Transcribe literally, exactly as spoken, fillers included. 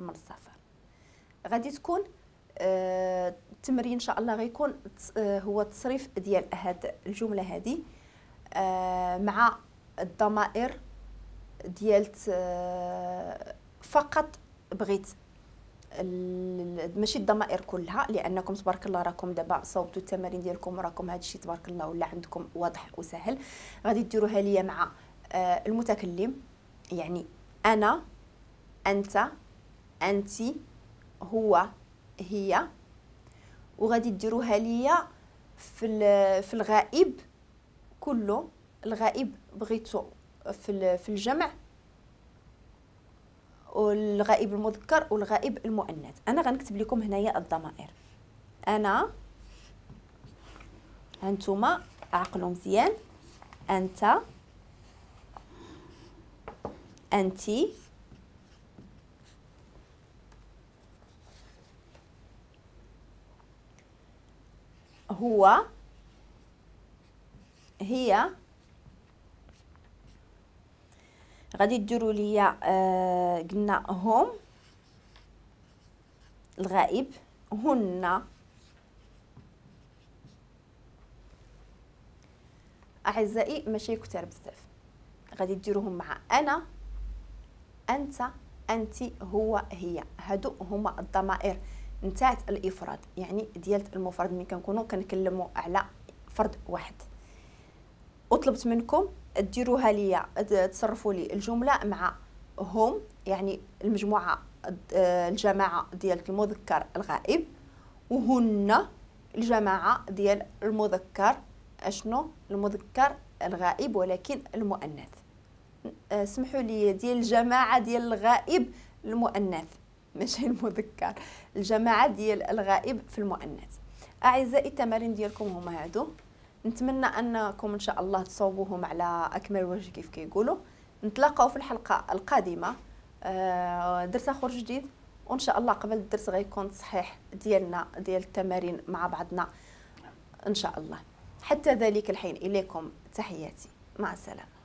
من السفر. غادي تكون آه التمرين ان شاء الله غيكون آه هو التصريف ديال هاد الجملة هذه آه مع الضمائر ديال آه فقط. بغيت ماشي الضمائر كلها، لانكم تبارك الله راكم دابا صوبتوا التمارين ديالكم وراكم هذا الشيء تبارك الله ولا عندكم واضح وسهل. غادي ديروها ليا مع آه المتكلم، يعني انا، انت، انت، هو، هي. وغادي ديروها ليا في في الغائب كله. الغائب بغيتو في في الجمع، والغائب المذكر والغائب المؤنث. انا غنكتب لكم هنايا الضمائر. انا، هانتوما عقلوا مزيان، انت، انتي، هو، هي. غادي ديروا ليا آه قلنا هم الغائب، هن. اعزائي ماشي كثر بزاف، غادي ديروهم مع انا، انت، انت، هو، هي. هادو هما الضمائر نتاعت الافراد، يعني ديال المفرد ملي كنكونوا كنكلموا على فرد واحد. وطلبت منكم ديروها ليا، تصرفوا لي الجملة مع هم، يعني المجموعة الجماعة ديال المذكر الغائب، وهن الجماعة ديال المذكر اشنو المذكر الغائب ولكن المؤنث. سمحوا لي، ديال الجماعة ديال الغائب المؤنث ماشي المذكر، الجماعة ديال الغائب في المؤنث. اعزائي التمارين ديالكم هما هادو، نتمنى انكم ان شاء الله تصوبوهم على اكمل وجه كيف كيقولوا. نتلاقاو في الحلقة القادمة، درس اخر جديد، وان شاء الله قبل الدرس غيكون تصحيح ديالنا ديال التمارين مع بعضنا ان شاء الله. حتى ذلك الحين اليكم تحياتي، مع السلامة.